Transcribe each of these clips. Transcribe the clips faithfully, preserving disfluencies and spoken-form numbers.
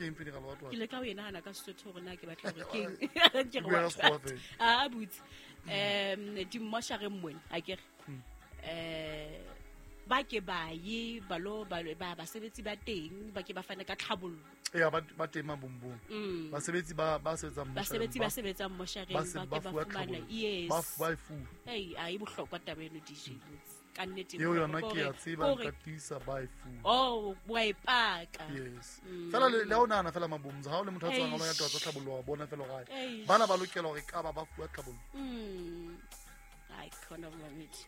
Ke eng funeral what what? Ke le ka o e nahana ka Sesotho hore na ke batla hore keng. Ke re Bua ka what Sekgowa what. fela. Ah, butse. Um dimmošareng mone akere. Eh ba ke ba ye ba lo ba ba basebetsi ba teng ba ke ba fane ka tlhabollo. Ya ba ba teng Mabombong. Mm. Basebetsi ba ba sebetsang Basebetsi ba sebetsang moshareng Ba se- ba ba ke ba fuwa fumana. tlhabollo. Yes. Ba ba e fuwa. Ei, a e bohlokwa taba eno D J Boots. Ka nnete e Eo yona bohlokwa ke a hore- tseba hore- nka tiisa ba e fuwa. Oh, wa e paka. Yes. Mm. Fela le le ha o nahana fela Mabombong, ha o le motho a tswang Eish. a lo ya taba tsa tlhabollo wa bona fela hore ai, Eish. bana ba lokela hore ka ba ba fuwa tlhabollo. Mm. Ai, khona mamedi.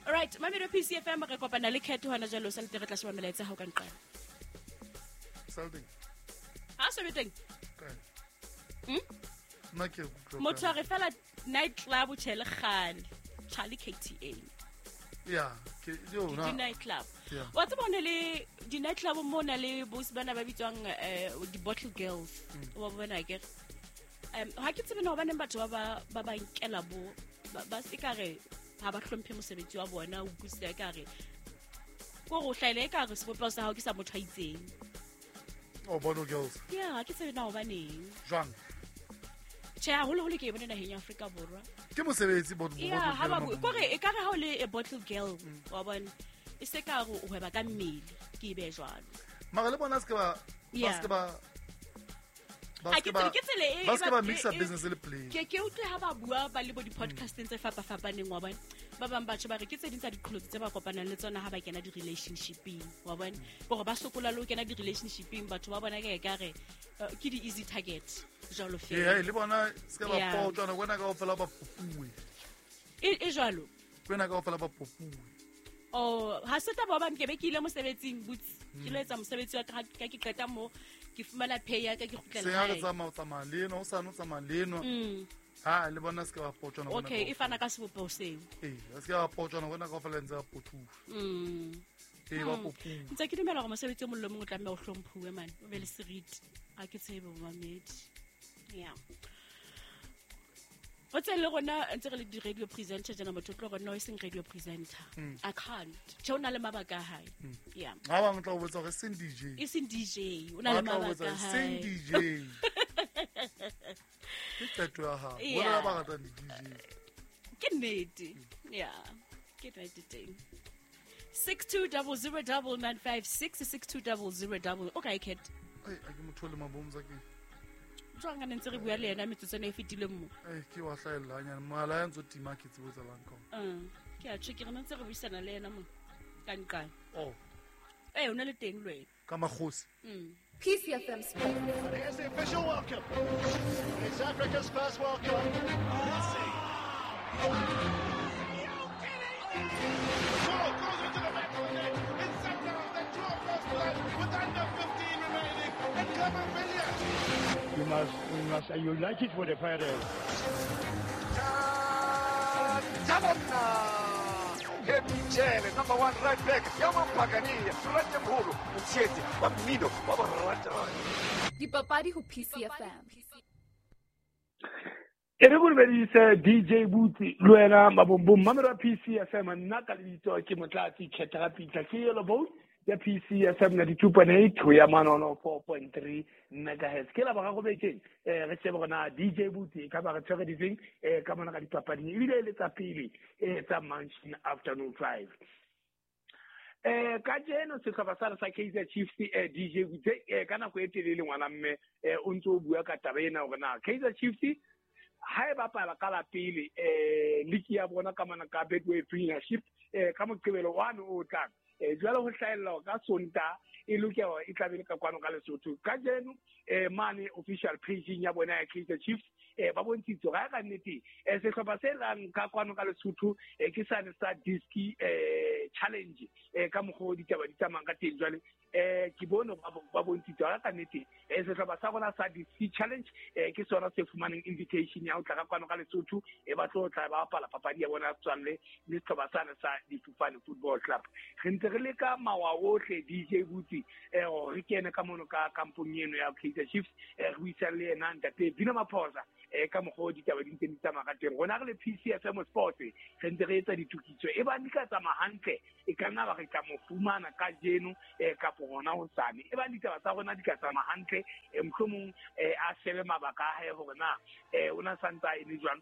All right, mamedi wa P C F M re kopana le Cat hona jwale o sa le re tla sheba melaetsa ha o ka nqala. Sale teng. Ha so be teng. Kae? Hmm? Nna ke utlwa Motho kae. a re fela night club o tjhele kgale. Charlie K T A. Ya, ke yo Di na. night club. Yeah. Wa tseba ho na le di night club mo na le bosi bana ba bitswang eh, di bottle girls. Mm. Wa bona ke. Um ha ke tsebe na hobaneng batho ba ba ba ba nkela bo ba, ba se ka re ha ba hlomphe mosebetsi wa bona, o utlwisisa e ka re ko go hlaela e ka re sebopeho sa hao ke sa motho a itseng. Oh, bottle girls. Yeah, ha ke tsebe na hobaneng. Jwang? Tjhe, haholoholo ke e bone naheng ya Afrika Borwa. Ke mosebetsi bottle Yeah, bottle ha ba girl bue. Mabombong. Kore e ka re ha o le a bottle girl, wa bona, e se ka re o hweba ka mmele, ke e behe jwalo. Mara le bona se ke ba ba Yeah. se ke ba ba Ha se ke ke ba tsebe, ke tsela e- ba se ke ba e ba- mixa e- e- business le play. Ke ke utlwe ha ba bua ba le bo di-podcasteng tse fapafapaneng, wa bona. Ba bang batho ba re ke tse ding tsa diqholotso tse ba kopanang le tsona ha ba kena di-relationshipeng, wa bona. Hore ba sokola le ho kena di-relationshipeng, batho ba bona ke ka re, eh, ke di-easy target, jwalo Ee, fela. le bona se ke ba Yeah. potjwana, wena kaofela ba popuwe. E, e jwalo. Wena kaofela ba popuwe. Oh, ha se taba hobane ke be ke ile mosebetsing, butse. Ke lo etsa mosebetsi wa ka, ha ke qeta moo, ke fumana pay ya ka, ke kgutlela Se ha re hae. tsamaya, o tsamaya le enwa, o sane o tsamaya le enwa. Mm. Ha, le bona se ke ba potjwana wena Okay, e kaofela. fana ka sebopeho seo. Ee, se ke ba potjwana wena kaofela ntse ba potuwa. Mm. Ee, ba Mm. popuwa. Ntse ke dumela hore mosebetsi o mong le mong o tlameha o hlomphuwe man, o be le seriti. Ha ke tsebe momamedi. Yeah. O tse le rona ntse re le di-radio presenter tjena, motho o tlo re no e seng radio presenter. Mm. I can't. Tjhe, o na le mabaka a hae. Mm. Yeah. Ha bang tla o botsa hore seng D J. E seng D J, o na le Ba tla o mabaka botsa a hore seng hae. D J. Ke qeto ya hao. Yeah. Bona ba ratang di-D J. Ke nnete. Yeah. Ke nnete teng. Six two double zero double nine five six, six two double zero double. Okay, Cat. Ai, a ke motho le mabomza ke. Jwang a ne ntse re bua le yena metsotso ena e fetileng mo? Ai, ke wa hlahella hanyane. Mohala ya ntso tima ke tsebo tsa lang ka ona. Mm. Ke a tjho, ke re ne ntse re buisana le yena mo. Ka nqane. Oh. Eh, o na le teng le wena. Ka makgosi. Mm. P C F M Sports. And here's the official welcome. It's Africa's first World Cup. Messi. Ball goes into the back of the net. It's Sundowns that draw first blood with under fifteen remaining. And Clement Villiers. You must, we must, you like it for the pirates. Jele, number one right back, Yaman Pagani, Rete Mhulu, Mtshetsi, wa mmino, wa borata. Dipapadi ho P C F M. E re go dumedise D J Boots le wena Mabombong, mamelo wa P C F M, nna ka lebitso ke Motlatsi Khetha Pitla, ke Yellow Boat ya P C F M ninety-two point eight ho ya manono four point three megahertz. Ke la boraro bekeng, eh, re shebe hore na D J Boots e ka ba re tshwere difeng, eh, ka mona ka dipapading, ebile e le tsa pele, eh, tsa Mansion Afternoon Drive. Eh, kajeno sehlopha sa sa Kaizer Chiefs, eh, D J Boots, eh, ka nako e telele ngwana mme, eh, o ntso o bua ka taba ena hore na Kaizer Chiefs ha e bapala ka la pele, eh, league ya bona ka mona ka Betway Premiership, eh, ka Moqebelo one o tlang. Eh, jwale ho hlahella hore ka Sontaha e lokela hore e tla be le ka kwano ka Lesotho. Kajeno, eh, mane official page ya bona ya Kaizer Chiefs, eh, ba bontshitse hore ha ka nnete, eh, sehlopha se tlang ka kwano ka Lesotho, eh, ke sane sa Diski, eh, Challenge, eh, ka mokgwa o ditaba di tsamayang ka teng jwale. Eh, ke bone ba bo-, ba bontshitse hore ha ka nnete, eh, sehlopha sa rona sa Diski Challenge, eh, ke sona se fumaneng invitation ya ho tla ka kwano ka Lesotho, eh, ba tlo tla ba bapala papadi ya bona ya setswalle le sehlopha sane sa Difofane Football Club. Re ntse re leka mawa ohle D J Boots, eh, hore re kene ka mono ka kampong eno ya Kaizer Chiefs, eh, re buisane le yena ntate Bina Maphosa, eh, ka mokgwa o ditaba di ntseng di tsamaya ka teng. Rona re le P C F M Sports re ntse re etsa ditokiso, e bang di ka tsamaya hantle, e ka nna ba re tla mo fumana kajeno, eh, kapo kapo hona hosane. E ba ditaba tsa rona di ka tsamaya hantle, mohlomong a shebe mabaka a hae hore na o na santsa e le jwang.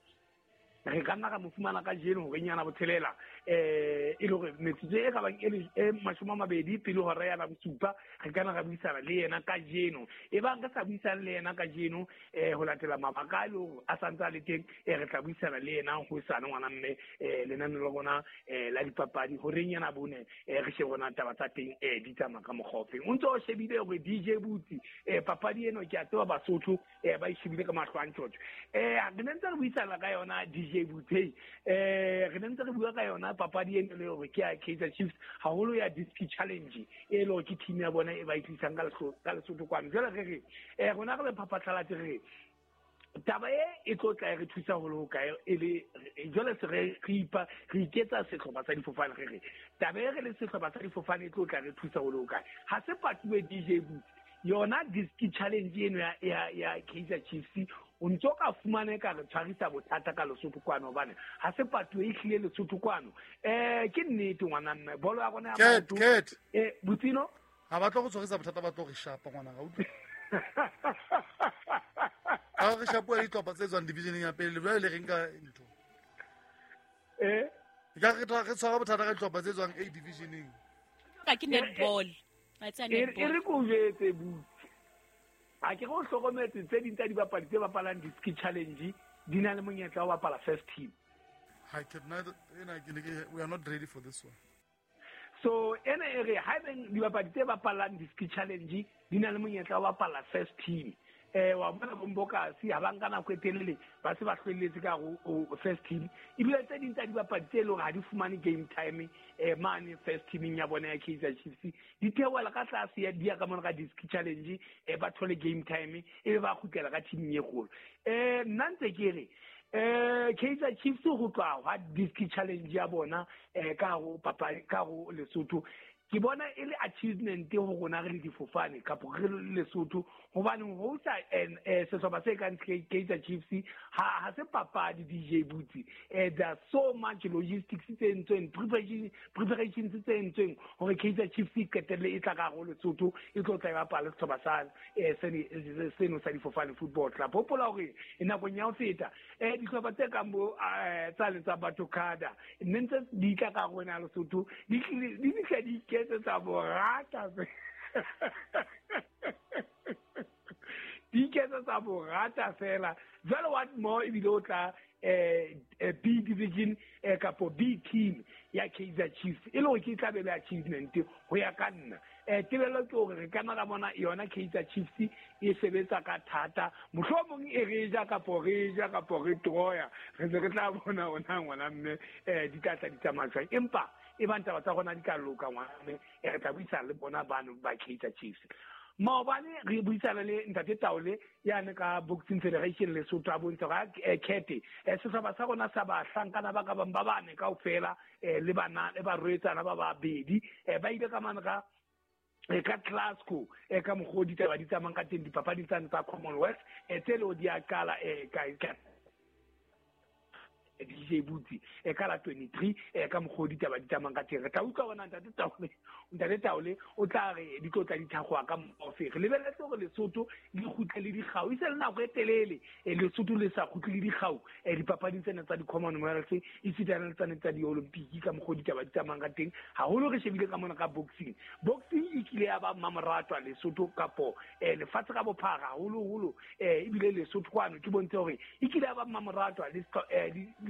Re ka nna ra mo fumana ka jeno hore nyana botshelela eh e le hore metsotso e ka bang e mashome a mabedi pele hora ya bosupa re ka nna ra buisana le yena ka jeno. E bang re sa buisana le yena ka jeno eh ho latela mabaka a le hore a santsa le teng, eh re tla buisana le yena hosane ngwana mme eh lenane la rona eh la dipapadi hore nyana bone eh re shebe rona taba tsa teng eh di tsamaya ka mokgwa ofeng. O ntso o shebile hore D J Butsi eh papadi eno ke a tseba Basotho eh ba e shebile ka mahlo a ntjhotjho. Eh re ne ntse re buisana ka yona D J Butsi eh re ne ntse re bua ka yona papadi eno le hore ke ya Kaizer Chiefs haholo ya Diski Challenge e le hore ke team ya bona e ba e tlisang ka ka Lesotho kwano. Jwale re re eh rona re le phaphatlhalatse re taba e e tlo tla re thusa holo ho kae e le jwale se re re ipa re iketsa sehlopha sa difofane re re taba e re le sehlopha sa difofane e tlo tla re thusa holo ho kae. Ha se patuwe D J Butsi yona Diski Challenge eno ya ya ya Kaizer Chiefs o ntso ka fumane ka re tshwarisa bothata ka Lesotho kwano hobane ha se patuwe e hlile Lesotho kwano. Eh ke nnete ngwana mme bolo ya rona ya Ket ket eh Butsino ha ba tlo go tshwarisa bothata ba tlo re shapa ngwana ga utlwe. Ha re shapuwa dihlopha tse tswang divisioneng ya pele jwale le reng ka ntho eh ka re tla re tshwara bothata ka dihlopha tse tswang A divisioneng ka ke netball ba tsa netball e re ko jetse Butsi a ke go hlokometse tse ding tsa dibapadi tse bapalang Diski Challenge di na le monyetla wa bapala first team. Ha ke nna ena ke ne ke we are not ready for this one. So ena e re ha beng dibapadi tse bapalang Diski Challenge di na le monyetla wa bapala first team. Eh wa bona bombokasi ha ba nka nako e telele ba se ba hlwelletse ka ho first team. Ebile tse ding tsa dibapadi tse leng hore ha di fumane game time eh mane first teaming ya bona ya Kaizer Chiefs di theohela ka tlase ya dia ka mona ka Diski Challenge eh ba thole game time e be ba kgutlela ka teaming e kgolo. Eh nna ntse ke re eh Kaizer Chiefs ho tloha ha Diski Challenge ya bona eh ka ho papadi ka ho Lesotho ke bona e le achievement ho rona re le difofane kapo re le Lesotho hobane ho sa sehlopha se kang Kaizer Chiefs ha ha se papadi D J Butsi. Eh there are so much logistics tse entsweng preparation preparations tse entsweng hore Kaizer Chiefs e qetelle e tla ka ho Lesotho e tlo tla e bapala sehlopha sa eh seno sa difofane football club. Hopola hore nakong ya ho feta eh dihlopha tse kang bo tsa le tsa Batokada nne ntse di tla ka rona Lesotho di di fihla di tsa borata di iketsa tsa borata fela. Jwale what more ebile o tla eh B division eh kapo B team ya Kaizer Chiefs e le hore ke tla be le achievement ho ya ka nna. Eh tebello ke hore re ka nna ra bona yona Kaizer Chiefs e sebetsa ka thata mohlomong e re ja kapo re ja kapo re troya re se re tla bona ona ngwana mme eh di tla tla di tsamaya jwang. Empa e bang taba tsa rona di ka loka ngwana mme re tla buisana le bona bano ba Kaizer Chiefs. Maobane re buisana le Ntate Taole yane ka Boxing Federation Lesotho a bontsha hore kete sehlopha sa rona sa bahlankana ba ka bang ba bane kaofela le bana le barwetsana ba babedi ba ile ka mane ka ka Glasgow e ka mokgwa ditaba di tsamayang ka teng dipapading tsane tsa Commonwealth tse le di a qala ka D J Butsi e ka la twenty-three e ka mokgwa ditaba di tsamayang ka teng. Re tla utlwa bona Ntate Taole Ntate Taole o tla re di tlo tla di thakgoa ka mokgwa. Re lebelletse hore Lesotho le kgutle le dikgau e se le nako e telele Lesotho le sa kgutle le dikgau dipapading tsena tsa di-Commonwealth esitana le tsane tsa di-Olympic ka mokgwa ditaba di tsamayang ka teng. Haholo re shebile ka mona ka boxing. Boxing e kile ya ba mmamoratwa Lesotho kapo lefatshe ka bophara haholoholo ebile Lesotho kwano ke bontshe hore e kile ya ba mmamoratwa le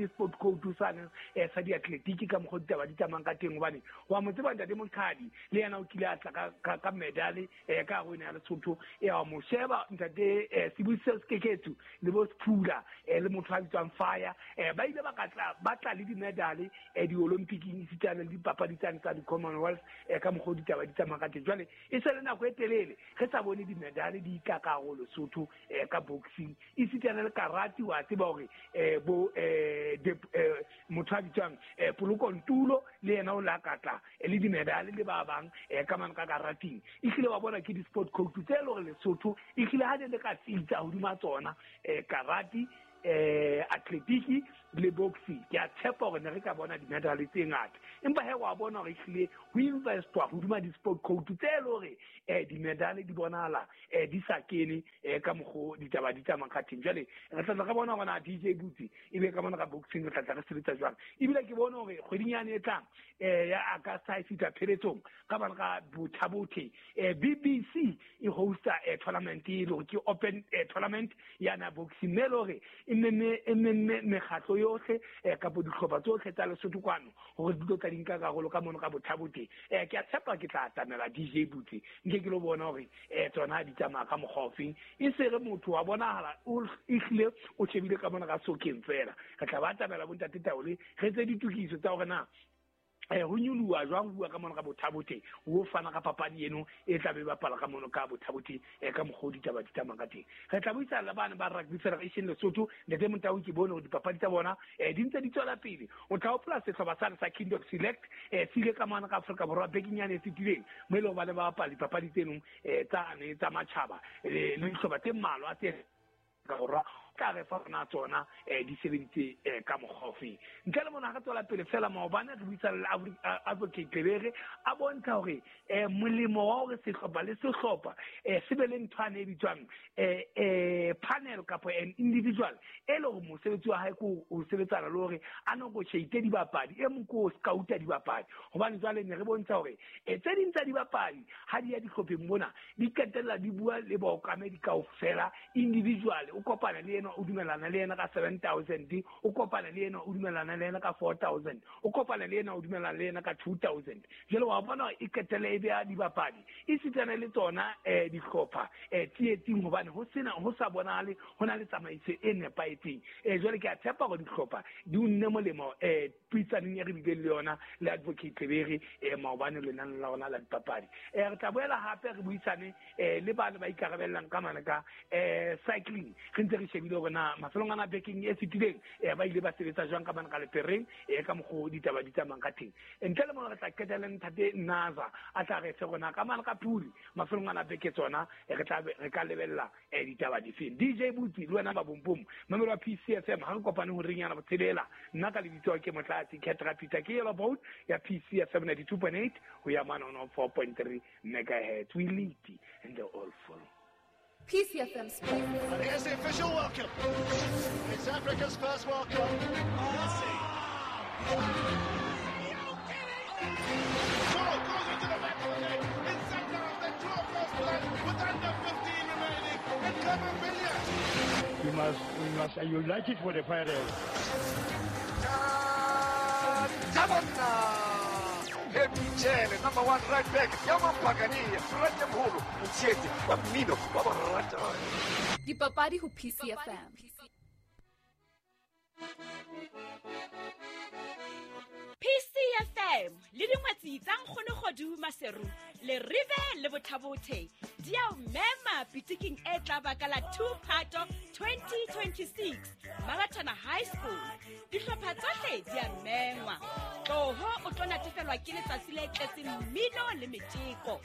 sport coach sane sa diatletiki ka mokgwa ditaba di tsamayang ka teng hobane wa mo tseba Ntate Mokhadi le yena o kile a tla ka ka medale ka ho ena ya Lesotho e wa mo sheba Ntate Sibusiso Sekeketsu le bo Sephula le motho a bitswang Fire ba ile ba ka tla ba tla le di-medale di-Olympicing esitana le dipapadi tsane tsa di-Commonwealth ka mokgwa ditaba di tsamayang ka teng. Jwale e se le nako e telele re sa bone di-medale di tla ka ho Lesotho ka boxing esitana le karate wa tseba hore bo motho a bitswang Poloko Ntulo le yena o la katla le di-medale le ba bang ka mane ka karating. Ehlile wa bona ke di-sport coach tse le hore Lesotho ehlile ha ne le ka tsitsa hodima tsona karate eh athletiki le boxing. Ke a tshepa hore ne re ka bona di-medal tse ngata, empa he wa bona hore ehlile ho investwa hodima di-sport code tse le hore eh di-medal di bonahala eh di sa kene eh ka mokgo ditaba di tsamayang ka teng. Jwale re tla re bona hore na D J Butsi ebe ka mona ka boxing re tla tla re sebetsa jwang. Ebile ke bone hore kgweding yane e tlang eh ya August ha e fihla pheletsong ka bana ka Bothabothe eh B B C e hosta eh tournament e le hore ke open eh, tournament ya na boxing, mme le hore e memme e memme mekgatlo yohle eh kapo dihlopha tsohle tsa Lesotho kwano hore di tlo tla di nka karolo ka mono ka Bothabothe. Eh ke a tshepa ke tla atamela D J Butsi nke ke lo bona hore eh tsona di tsamaya ka mokgwa ofeng, e se re motho wa bonahala o ehlile o shebile ka mona ka sokeng fela. Re tla ba atamela bontate Taole re tse ditokiso tsa hore na eh ho nyoloha jwang ho bua ka mona ka Bothabothe, ho fana ka papadi eno e tla be bapala ka mono ka Bothabothe eh ka mokgwa o ditaba di tsamayang ka teng. Re tla buisana le bana ba Rugby Federation Lesotho, Ntate Montau ke bone hore dipapadi tsa bona eh di ntse di tswela pele. O tla hopola sehlopha sane sa Kingdom Select eh se ile ka mona ka Afrika Borwa bekeng yane e fetileng, mo e leng hore ba ne ba bapala dipapadi tseno eh tsane tsa matjhaba le dihlopha tse mmalwa tse ka borwa tla re fa rona tsona eh di sebeditse eh ka mokgwa ofeng. Ntle le mona re tswela pele fela maobane re buisana le Advocate Lebere a bontsha hore eh molemo wa hore sehlopha le sehlopha eh se be le ntho ane e bitswang eh eh panel kapa an individual e le hore mosebetsi wa hae ke ho sebetsana le hore a negotiate dibapadi, e mong ke ho scouta dibapadi. Hobane jwale ne re bontsha hore eh tse ding tsa dibapadi ha di ya dihlopheng mona di qetella di bua le baokamedi kaofela individual, o kopana le yena o dumelana le yena ka seven thousand, o kopana le yena o dumelana le yena ka four thousand, o kopana le yena o dumelana le yena ka two thousand. Jwale wa bona e qetelle e beha dibapadi e sitana le tsona eh dihlopha eh tsietsing, hobane ho sena ho sa bonahale ho na le tsamaiso e nepahetseng. Eh jwale ke a tshepa hore dihlopha di unne molemo eh puisanong e re bileng le yona le Advocate Lebere eh maobane lenaneng la rona la dipapadi. Eh re tla boela hape re buisane eh le bana ba ikarabellang ka mane ka eh cycling, re ntse re shebile hore na mafelong ana bekeng e fetileng eh ba ile ba sebetsa jwang ka mane ka lepereng eh ka mokgwa o ditaba di tsamayang ka teng. Ntle le mona re tla qetela ntate Naza a tla re fe rona ka mane ka Puli mafelong ana beke tsona re tla re ka lebella eh ditaba difeng. D J Butsi le wena ba bompom mamelo wa P C F M ha re kopane ho reng yana botshelela. Nna ka lebitso ke Motlatsi Ketra Peter ke yellow boat ya P C F M ninety-two point eight ho ya mane on four point three megahertz. We lead and they all follow. P C F M Sports. And here's the official welcome. It's Africa's first World Cup. Messi. Ball goes into the back of the net. In center of the draw first blood with under fifteen remaining. And Clement Billiard. We must, we must unite it for the Pirates. Jele, number one right back, Yaman Pagani, Rete Mholo, Mtshetsi, wa mmino wa borata. Dipapadi ho P C F M. P C F M le dingwetsi tsa Nkgono Kgodu Maseru le Rive le Bothabothe di a o mema pitiking e tla baka la two Phato twenty twenty-six Marathana High School. Dihlopha tsohle di a mengwa. Tloho o tlo natefelwa ke letsatsi le tletseng mmino le metjeko.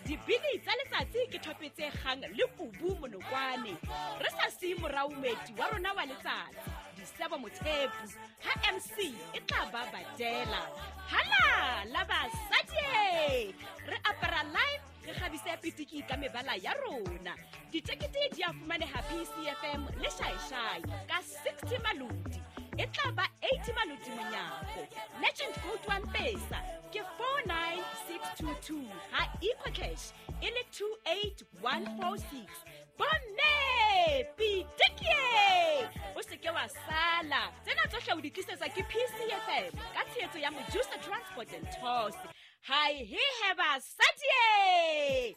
Dibini tsa letsatsi ke thope tse kgang le kubu monokwane. Re sa siye morao moeti wa rona wa letsatsi Disebo Mothepu ha M C e tla ba badela. Hala la basadi re apara live re kgabise pitiki ka mebala ya rona. Ditekete di a fumaneha P C F M le Shaishai ka sixty malodi. E tla ba eighty malodi monyako. Legend code one pesa ke four nine six two two ha EcoCash e le two eight one four six. Bomme pitiki o se ke wa sala. Tsena tsohle o di tlisetsa ke P C F M ka tshehetso ya Mojusa Transport and Tours. Hi he heba sadie.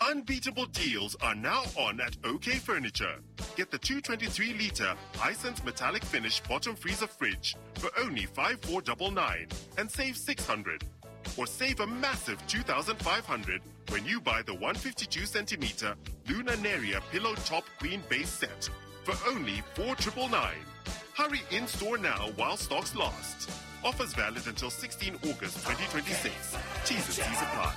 Unbeatable deals are now on at OK Furniture. Get the two twenty-three litre Hisense metallic finish bottom freezer fridge for only five four nine nine and save six hundred. Or save a massive two thousand five hundred when you buy the one fifty-two centimeter Luna Neria pillow top queen base set for only four nine nine nine. Hurry in store now while stocks last. Offers valid until sixteen August twenty twenty-six. T's and C's apply.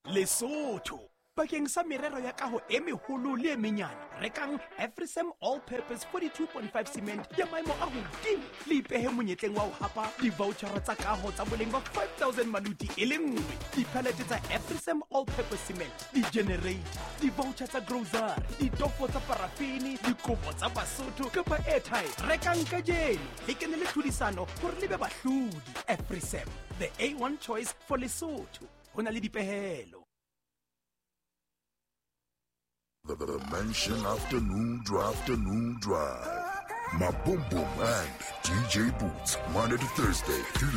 Lesotho bakeng sa merero ya kaho e meholo le e menyane, rekang Afrisem All Purpose forty-two point five cement ya maemo a hodimo le ipehe monyetleng wa ho hapa di-vouchera tsa kaho tsa boleng ba five thousand maluti e le nngwe, dipalete tsa Afrisem All Purpose cement, di-generator, di-voucher tsa grocery, ditofo tsa parafini, dikobo tsa Basotho kapa airtime. Rekang kajeno le kene le tlhodisano hore le be bahlodi. Afrisem, the A one choice for Lesotho. Ho na le dipehelo. The, the Mansion Afternoon Drive, Afternoon Drive. Maboom Boom and D J Boots, Monday to Thursday, three